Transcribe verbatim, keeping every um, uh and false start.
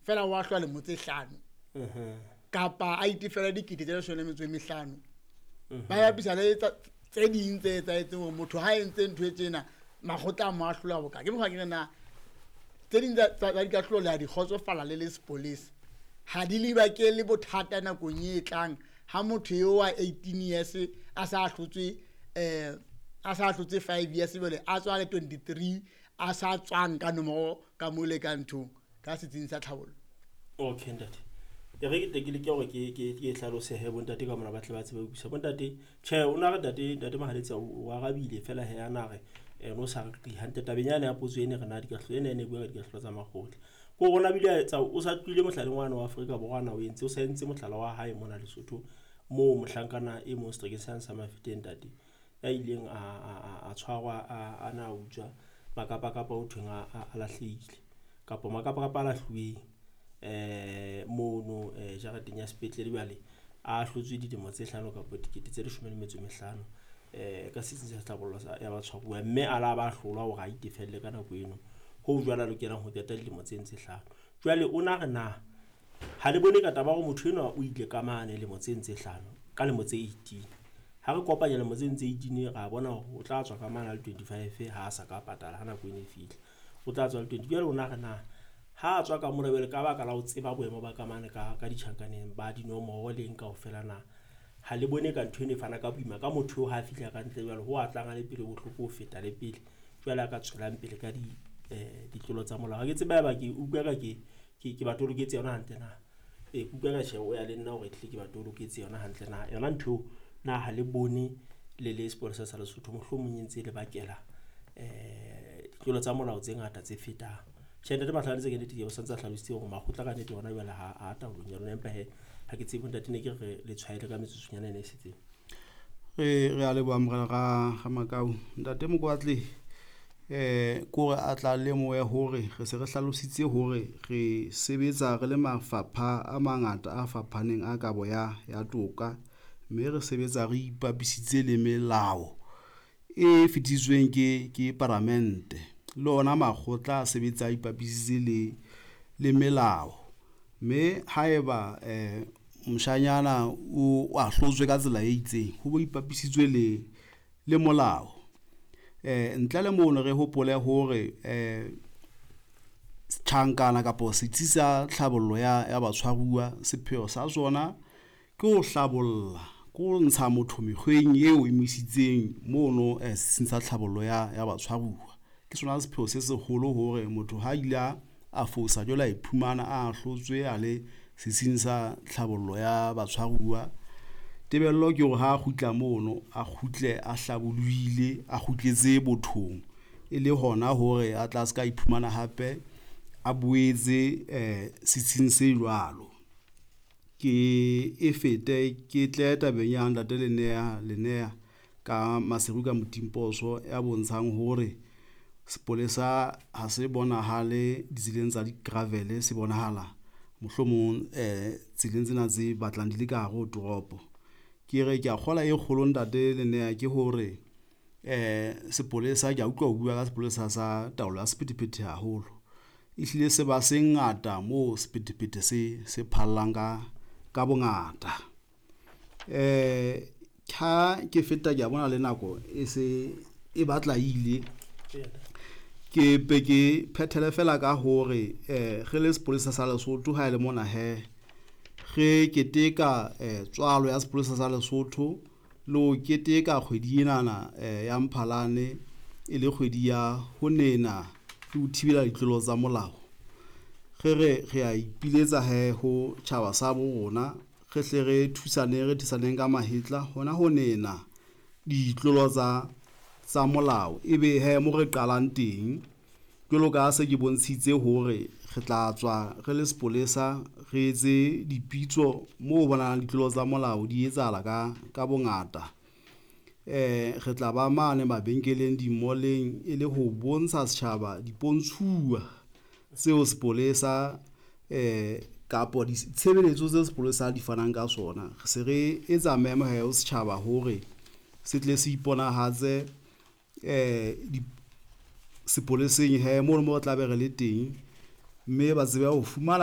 Fela wa hlwa lemo tse hlano. Kapa a itefela dikete tse leshome le metso e mehlano. Ba bapisa le tse ding tse etsahetseng hore motho ha entse ntho e tjena makgotla a mo ahlola boka. Ke mokgwa ke re na tse ding tsa dikahlolo le a di kgotsofala le le sepolesa. Ha di le bakele bothata nakong e tlang ha motho eo wa eighteen years a sa ahlotswe eh a sa ahlotswe five years jwale a tswa le twenty-three a sa tswang ka nomoro ka mole ka nthong ka setsing sa tlhabollo. Okay ntate. E re ke tle ke leke hore ke ke ke hlalose he bontate ka mona ba tle ba tsebe ho utlwisisa. Bontate tjhe o na re ntate ntate Mohaletsi o arabile fela he ana re no sa re hantle tabeng yane ya potso ene re na dikahlolo ene ene bua ka dikahlolo tsa makgotla. Ko rona bile a etsa o sa tlohile mohlaleng wane wa Afrika Borwa ana o entse o sa entse mohlala wa hae mona Lesotho moo mohlankana e mong seterekeng sane sa Mafeteng ntate ya ileng a a a tshwarwa a na utswa makapakapa ho thweng a a lahlehile kapa makapakapa a lahluweng eh mono eh jareteng ya sepetlele jwale a hlotswe dilemo tse hlano kapa dikete tse leshome le metso e mehlano eh ka setsing sa tlhabollo ya batshwaruwa mme a la ba hlolwa hore a itefelle ka nako eno ho jwale a lokelang ho qeta dilemo tse ntse hlano. Jwale o na re na ha le bone ka taba hore motho enwa o ile ka mane lemo tse ntse hlano ka lemo tse eighteen ha re kopanya lemo tse ntse eighteen ra bona hore o tla tswa ka mane a le twenty-five ha a sa ka patala ha nako ene e fihla o tla tswa le twenty. Jwale o na re na ha a tswa ka mona jwale ka baka la ho tseba boemo ba ka mane ka ka ditjhankaneng ba dinomoro le eng kaofela na ha le bone ka ntho eno e fana ka boima ka motho eo ha a fihla ka ntle jwale ho a tlang a le pele bohloko ho feta le pele jwale a ka tswelang pele ka di eh ditlolo tsa molao. Ha ke tsebe haeba ke utlwa ka ke ke ke ba toloketse yona hantle na. E ke utlwa ka tjhe o ya le nna hore ehlile ke ba toloketse yona hantle na. Yona ntho eo na ha le bone le le sepolesa sa Lesotho mohlomong e ntse le bakela eh ditlolo tsa molao tse ngata tse fetang. Tjhe ntate Mahlakantse ke nnete ke o santse a hlalositse hore makgotla ka nnete hona jwale ha a taolong ya lona empa he ha ke tsebe ntate ne ke re le tshwaele ka metsotsonyana ena e setseng. Re re a leboha morena ra ra Makau. Ntate Mokwatle eh kore a tla lemohe hore re se re hlalositse hore re sebetsa re le mafapha a mangata a fapaneng a kabo ya ya toka mme re sebetsa re ipapisitse le melao e fetisitsweng ke ke paramente le ona makgotla a sebetsa a ipapisitse le le melao mme haeba eh moshanyana o ahlotswe ka tsela e itseng ho bo ipapisitswe le le molao. Eh ntle le mono re hopole hore eh tjhankana kapa setsi sa tlhabollo ya ya batshwaruwa sepheo sa sona ke ho hlabolla ke ho ntsha motho mekgweng eo e mo isitseng mono eh setsing sa tlhabollo ya ya batshwaruwa. Ke sona sepheo se seholo hore motho ha ile a fosa jwale a iphumana a ahlotswe a le setsing sa tlhabollo ya batshwaruwa. Tebello ke hore ha a kgutla mono a kgutle a hlabollohile a kgutletse bothong e le hona hore a tla ska iphumana hape a boetse eh setsing se jwalo. Ke e fete ke tle tabeng ya ntate Lenea Lenea ka Maseru ka Motimposo ya bontshang hore sepolesa ha se bonahale ditseleng tsa di-gravel se bonahala mohlomong eh tseleng tsena tse batlang di le ka hare ho toropo. Ke re ke a kgola e kgolo ntate Lenea ke hore eh sepolesa ke a utlwa o bua ka sepolesa sa taolo ya sephethephethe haholo. Ehlile se ba se ngata moo sephethephethe se se phallang ka ka bongata. Eh ha ke feta ke a bona le nako e se e batla ile. Ke pe ke phethele fela ka hore eh re le sepolesa sa Lesotho ha e le mona he re keteka eh tswalo ya sepolesa sa Lesotho le ho keteka kgwedi enana eh ya Mphalane e le kgwedi ya ho nena le ho thibela ditlolo tsa molao. Re re re a ipiletsa he ho tjhaba sa bo rona re hle re thusane re thusaneng ka mahetla hona ho nena ditlolo tsa tsa molao ebe he mo re qalang teng jwalo ka se ke bontshitse hore re tla tswa re le sepolesa re etse dipitso moo bonahalang ditlolo tsa molao di etsahala ka ka bongata. Eh re tla ba mane mabenkeleng di-mall-eng e le ho bontsha setjhaba dipontshuwa tseo sepolesa eh kapo ditshebeletso tse sepolesa di fanang ka sona. Re se re etsa memo he ho setjhaba hore se tle se iponahatse eh di sepoleseng he mono mo re tla be re le teng mme ba tsebe ho fumana